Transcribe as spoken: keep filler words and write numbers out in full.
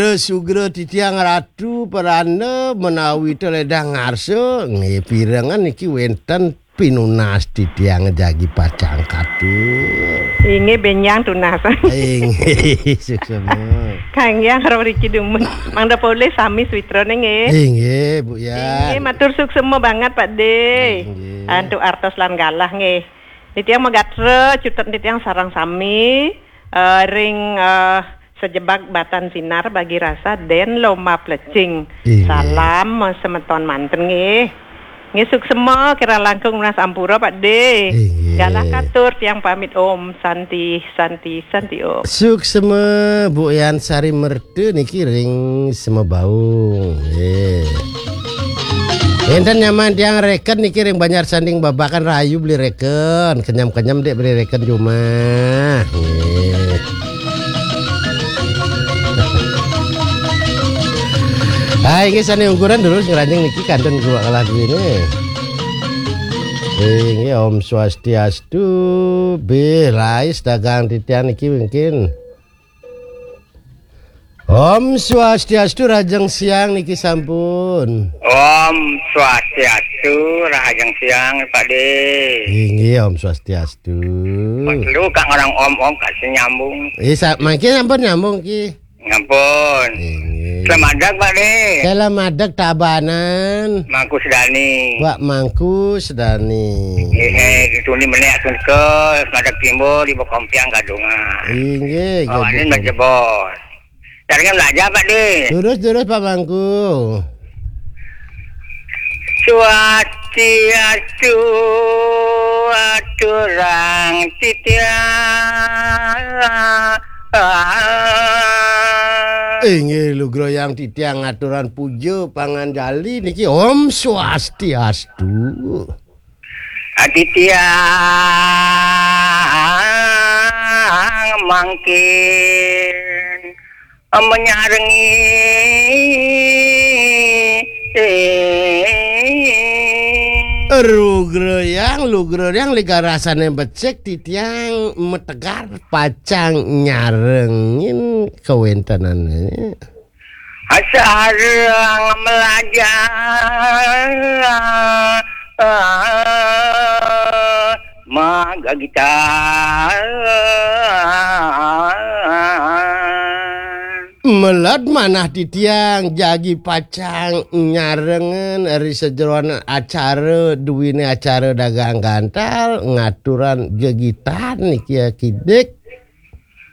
Sugra titiang Ratu Peranda menawi teledang ngarsa nggih pirengan niki wenten pinunas titiang jagi pacang katur. Inggih benjang tunas. Inggih suksema. Kangge riki dumun. Mangda polih sami switrane nggih. Inggih Bu Yan. Inggih matur suksema banget Pak De. Inggih. Antuk artos lan galah nggih. Titiang magatra cutet titiang sareng sami eh, ring eh, sejebak batan sinar bagi rasa den lomba plecing. Inggih. Salam eh, semeton manten nggih. Nggih suksema kira langkung menas ampura Pak De. Inggih. Galah katur tiang pamit Om Santi Santi Santi Om. Suksema Bu Yan Sari Merta niki ring Semebaung. Nggih. Enten nyaman tiang reken niki ring Banjar Sanding Babakan rahayu beli reken. Kenyam-kenyam dek beli reken cuma. Nggih. Hai, nggih sane ungkuran terus ngranjing niki kanten gua kalah duwene. Inggih Om Swastiastu, bih rais dagang titian niki mungkin. Om Swastiastu, rahajeng siang niki sampun. Om Swastiastu, rahajeng siang Pak De. Inggih Om Swastiastu. Perlu kak orang om-om kak sing nyambung. Eh, sa- mangke sampun nyambung ki. Ngampun. Inggih. Selamat Pak De. Selamat Tabanan. Mangku Sedani. Pak Mangku Sedani. Nggih, eh, dituni menek atun ke, semadak timbul, di Bokompiang Gadungan. Inggih, Bawanin Gadungan. Bajebos. Caranya belajar Pak De. Terus, terus Pak Mangku. Swastiastu aturang titiang. Inggih lugra yang titiang aturan puja panganjali niki Om Swastiastu. Titiang mangkin menyarengi Rugreyang, lugreyang ligarasane becik titiang metegar pacang nyarengin kawentenane. Sareng melajar magagitan. Meled manah titiang jagi pacang nyarengen ri sajeroan acara duwine acara dagang gantal ngaturan gegitan niki kidik